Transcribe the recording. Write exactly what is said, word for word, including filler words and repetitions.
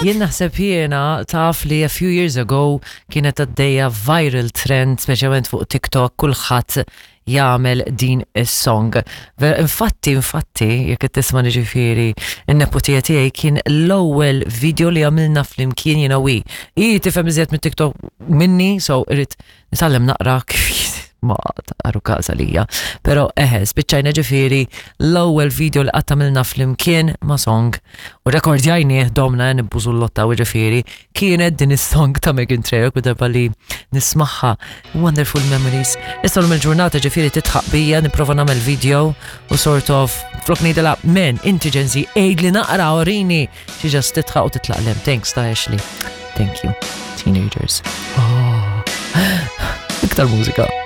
Jien naħseb jiena taf li a few years ago kienet għaddejja viral trend, speċjalment fuq TikTok, kulħadd jagħmel din is-song. Ver- Infatti, infatti, jekk qed tisma' ġifieri, in-neputija tiegħi kien l-ewwel video li għamilna flimkien jiena u hi. Hi tifhem iżjed mit-TikTok minni, so irrid nitgħallem naqra kif ma taru każ għalija. Pero eħe, spiċċajna ġifieri l-ewwel video li qatt għamilna flimkien ma' song u rekordjajnieh, domna nibbużu l-lotta u ġifieri kienet din is-song ta' Meghan Trainor, kull darba li nismagħha. Wonderful memories. Issa l il-ġurnata ġifieri titħaq bija nipprova nagħmel video u sort of flok ngħidilha, "Men, inti Gen Z, għidli naqra, orini." She just titħaq u titlaq lem. Thanks ta' Ashley. Thank you. Teenagers. Oh. Iktar mużika.